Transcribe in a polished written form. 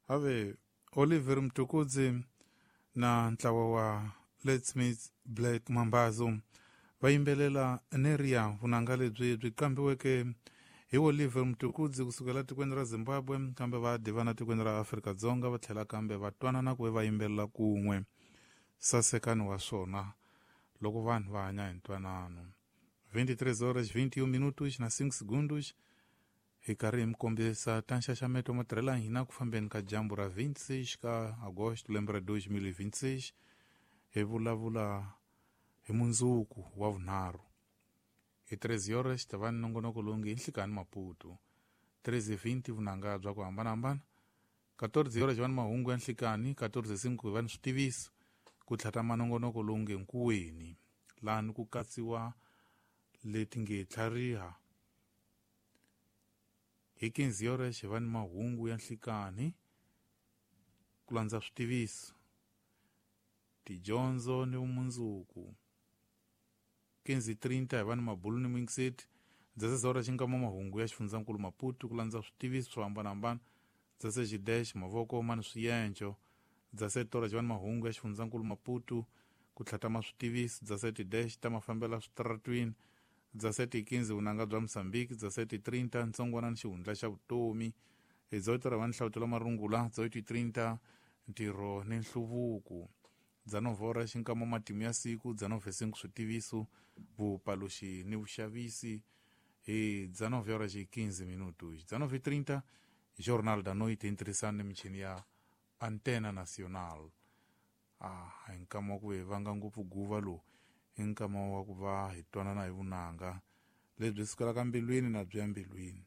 Ave Oliver Mtukudzi na ntlawa wa Let's Meet Black Mambazo va yimbelela Neria, vunanga lebyi byi qambiweke hi Oliver Mtukudzi kusukela tikweni ra Zimbabwe, kambe va divana tikweni ra Afrika-Dzonga, va tlhela kambe va twanana ku va yimbelela kun'we. Sasekani wa swona loko vanhu va hanya hi ntwanano. 23 horas 21 minutos na 5 segundos, hi karhi hi mi kombisa ta nxaxameto matirhela hina ku fambeni ka dyambu ra 26 ka agosto lembe ra 2026. Hi vulavula hi mundzuku wa vunharhu hi 13 horas ta va ni nongonoko lowu nge Nhlikani Maputo, 13:20 vunanga bya ku hambanahambana, 14 horas va ni mahungu ya nhlikani, 14:05 va ni switiviso, ku tlhatama nongonoko lowu nge Nkuweni, lani ku katsiwa leti nge tlhariha. Hi 15 horas va ni mahungu ya nhlikani, ku landza switiviso, tidyondzo ni vumundzuku. 15:30 hi va ni mabulu ni mingiseti. 16 horas xinkama mahungu ya xifundzankulu Maputo, ku landza switiviso swo hambanahambana. 16 dash mavoko ma ni swiyenco. 17 horas va ni mahungu ya xifundzankulu Maputo, ku tlhatama switiviso. 17 dash ta mafambela switaratwini. 17:15 vunanga bya Mosambiki. 17:30 ntsongwana ni xihundla xa vutomi. Hi 18 va ni hlawutelo marungula. 18:30 ntirho ni nhluvuko. 19 horas xinkama matimu ya siku. 19:05 switiviso, vupaluxi ni vuxavisi. Hi 19 horas e 15 minutos, 19:30 Jornal da Noite, hi ni michini ya Antena Nacional. A hi nkama wa ku hi vanga ngopfu guva lowu, i nkama wa ku va hi twanana hi vunanga lebyi sukelaka mbilwini na byi ya mbilwini.